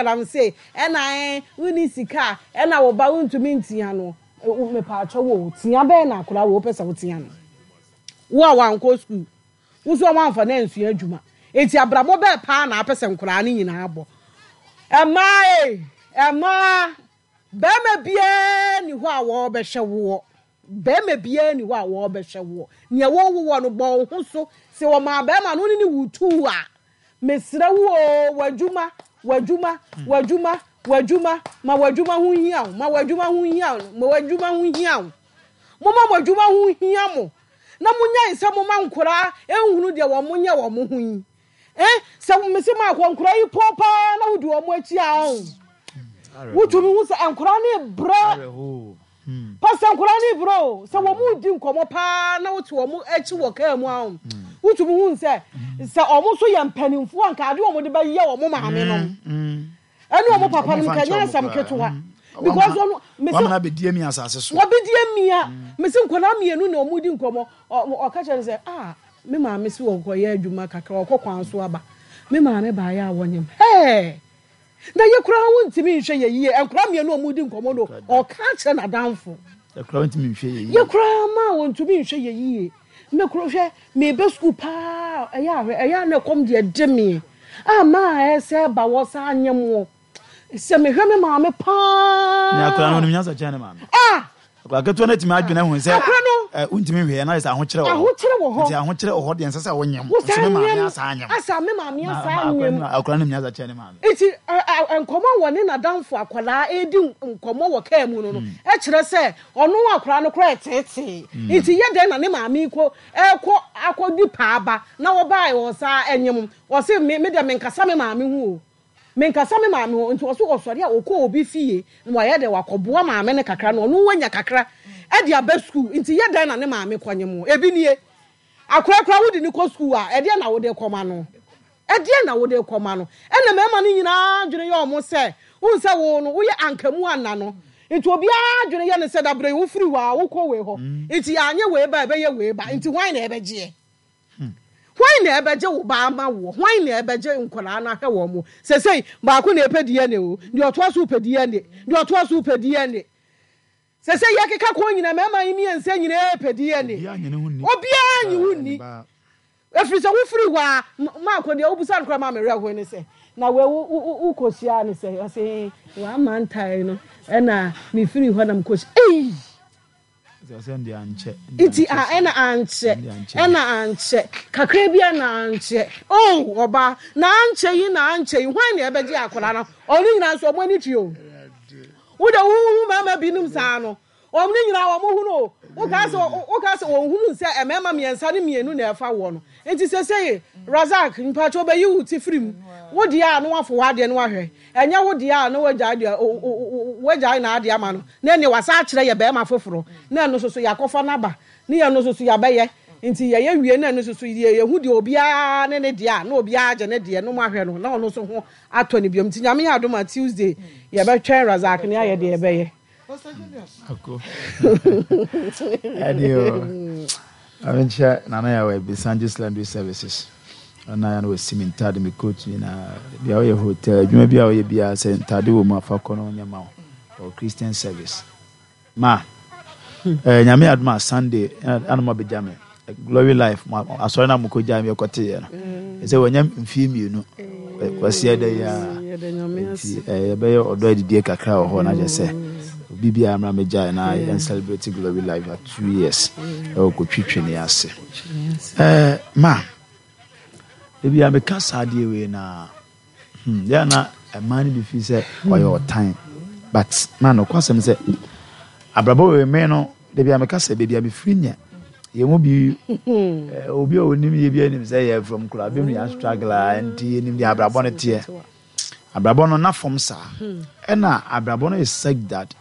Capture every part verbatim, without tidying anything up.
Galamsey ɛna ɛn wonni sika a ɛna wo ba wontumi ntia no. Mepaakyɛw o, tia bɛn na akwadaa wei wopɛ sɛ wotia no? Wo a wankɔ sukuu, wo nso a woamfa no ansua adwuma. Enti abrabɔ bɛɛ paa na apɛ sɛ nkwadaa no nyinaa bɔ? Mmaa ei, mmaa, barima biara nni hɔ a wɔrebɛhwɛ woɔ. Barima biara nni hɔ a wɔrebɛhwɛ woɔ. Nea wɔrewo woɔ no, bɔ wo ho so. Sɛ wɔmaa barima no, wo ne no wu tuu a, mesrɛ wo oo, w'adwuma, w'adwuma, w'adwuma, w'adwuma, ma w'adwuma ho nhia wo, ma w'adwuma ho nhia wo, ma w'adwuma ho nhia wo. Momma mo adwuma ho nhia mo, na monnyae sɛ moma nkoraa nhunu deɛ wɔn nyɛ wɔn ho yi. Eh, sɛ mese maakɔ nkoraa yi pɔn paa na wodi wɔn akyi a, ɔn. Wotumi hu sɛ nkoraa no rebrɛ. Pastor, nkwadaa no rebrɛ o. Sɛ wɔn redi nkɔmmɔ paa na wote wɔn akyi wɔ kaa mu a, wotumi hu sɛ sɛ wɔn nso yɛ mpanimfoɔ a, nka adeɛ wɔn de bɛyɛ wɔn maame nom ɛne wɔn papa nom nka nyɛ asɛm ketewa. Because ɔno mese wɔn na bɛdi mi asase so. Wɔbɛdi amia. Mese nkwadaa mmienu na wɔn di nkɔmmɔ. Ɔka kyerɛ no sɛ, "Ah, me maame si wɔkɔyɛ adwuma kakra, ɔkɔ kwan so aba. Me maame baayɛ a wɔnyam hɛɛ na yɛ koraa wontumi nhwɛ yɛ yie." Nkwadaa mmienu a wɔn di nkɔmmɔ no, ɔka kyerɛ n'adamfo. Ɛkura wɔntumi nhwɛ yɛ yie. Yɛ koraa ma wɔntumi nhwɛ yɛ yie. Me koro hwɛ, mebe sukuu paa, ɛyɛ ahwɛ, ɛyɛ a na ɛkɔm deɛ de me a maa ɛsɛ ba wɔ saa anyɛ mo sɛ mehwɛ me maame paa. Ne akora no onim nyansa kyɛn ne maame. Ah! Akora ketewa no atumi adwene ho sɛ Akora no ɛ wontumi nhwɛ na sɛ ahokyerɛ wɔ hɔ. Ahokyerɛ wɔ hɔ. Nti ahokyerɛ wɔ hɔ deɛ, nsɛ sɛ wonyam. Wo nso saa me maame nyam asa anyam. Asa me maame Na- asa ma- akora anyam. no akora no nim nyansa kyɛn ne maame. Nti ɛ, ɛ, nkɔmmɔ a wɔne n'adamfo akwadaa redi nkɔmmɔ wɔ kaa mu no no ɛkyerɛ sɛ ɔno akwadaa no koraa ɛteetee. Nti yɛ dɛn na ne maame kɔ ɛkɔ akɔdi paaba na wɔbaa wɔ saa ɛnyem? Ɔse me me deɛ, menkasa me maame ho o, menkasa me maame ho. Nti ɔso ɔsɔre a, ɔkɔ obi fie na wayɛ dɛ wakɔboa maame no kakra na ɔno wanya kakra ɛde aba sukuu. Nti yɛ dɛn na ne maame kɔnyem o? Ebi nie, akora wode ne kɔ sukuu a, ɛdeɛ na wode kɔma no? Ɛdeɛ na wode kɔma no? Ɛna mmarima no nyinaa dwene yɛ ɔmo sɛ wohu sɛ wo no woyɛ ankamu ana no. Nti obiara dwene yɛ ne sɛ dabrɛ yi wofiri hɔ a wokɔ wei hɔ. Nti yɛanyɛ wei ba, ɛbɛyɛ wei ba. Nti hwan na ɛbɛgyeɛ? Hwan na ɛbɛgye wo ba ama woɔ? Hwan na ɛbɛgye nkwadaa no ahwɛ wɔn mo? Sɛsɛi baako na ɛpɛ D N A o, deɛ ɔtoa so pɛ D N A, deɛ ɔtoa so pɛ D N A. Sɛsɛ yɛkeka kɔn nyina, mmarima yi mmiɛnsa nyinaa pɛ D N A. Obiara nye ne ho nni. Obiara nye wo nni. Ɛfiri sɛ wofiri hɔ a, maakɔ deɛ wobusa no koraa ma merɛ ho ne sɛ na wei wokɔhyia ne sɛ ɔse wama ntae no ɛna mefiri hɔ na mekɔhyia ei. Sɛ ɔsɛ deɛ ankyɛ. Nti a ɛna ankyɛ, ɛna ankyɛ kakra bi a na ankyɛ oh, ɔbaa na ankyɛ yi na ankyɛ yi, hwan na ɛbɛgye akwadaa no? Ɔno nyinaa nso ɔmo ani tue o. Wode wohu mmarima binom saa no, ɔmo ne nyinaa ɔmo hu no. Woka sɛ woka sɛ wɔn hunu sɛ mmarima mmiɛnsa ne mmienu na ɛfa woɔ no. Nti sɛsɛyi Razak mpatsɛ ɔbɛyi wo ti firi mu. Wo deɛ a na wafo w'adeɛ no wahwɛ, ɛnyɛ wo deɛ a na wagyae deɛ wagyae na adeɛ ama no na ɛnneɛ wasa akyerɛ yɛ bɛrima foforɔ na ɛno nso so yɛakɔfa n'aba ne yɛn no nso so yɛabɛyɛ. Nti yɛyɛ wie na ɛno nso so yɛ yɛhu deɛ obiara ne ne deɛ a na obiara gye ne deɛ no mu ahwɛ no na ɔno nso ho atɔ ne biom. Nti Nyame yɛ adom a, Tuesday yɛbɛtwɛn Razak ne ayɛ deɛ yɛbɛyɛ. Ako ɛde o, amenkyɛ Nana yɛ wɔ Ebisanjis Laundry Services. Ɔna yɛ no wɔsi mi ntaade, mi coat nyinaa bia ɔyɛ hotel adwuma bi a ɔyɛ biara sɛ ntaade wɔ mu afa kɔ no ɔnyɛ ma wo. Ɔwɔ Christian service ma ɛɛ Nyame adom a, Sunday ɛna mo abɛgya me Glory Life mo asɔre na mo kɔ gya mi ɛkɔte yɛ no ɛsɛ wɔnyɛ mfie mmienu kwasi ɛdɛ yi a. Nti ɛɛ yɛbɛyɛ ɔdɔ adidie kakra wɔ hɔ na kyerɛ sɛ obi biara mmra mɛgya na yɛn celebrate Glory Life at two years ɛwɔ kɔtwitwi ne ase. ɛɛ ma ebi a meka saa adeɛ wei na hmm yɛn na mmaa no bi fi sɛ ɔyɛ ɔtan, but ma no kɔsɛm sɛ abrabɔ wei me no debi a meka sɛ beebi a mefiri nyɛ yɛn mu bi ɛɛ obi a onim yɛ bi anim sɛ yɛ from kura bi mu yɛ struggle a, nti yɛnim deɛ abrabɔ no teɛ. Abrabɔ no na fam saa ɛna abrabɔ no is such that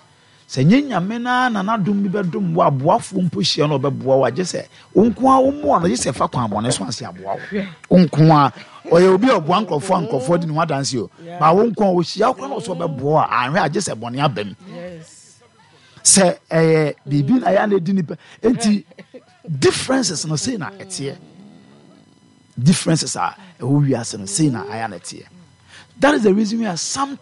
sɛ nye Nyame na na n'adom bi bɛdom wo, aboafoɔ mpo hyia no ɔbɛboa wo agye sɛ wo nko a wommoa no, gye sɛ fa kwan bɔne so ase aboa wo. Wo nko a ɔyɛ obi a ɔboa nkurɔfoɔ a nkurɔfoɔ di ne ho adanse o, ma wo nko a ɔhyia wo koraa na ɔsɛ ɔbɛboa wo a, anhwɛ agye sɛ bɔne aba mu sɛ ɛyɛ biribi na yɛ ana ɛdi nipa. Nti differences no sei na ɛteɛ, differences a ɛwɔ wiase no sei na ayɛ na ɛteɛ. That is the reason why sometimes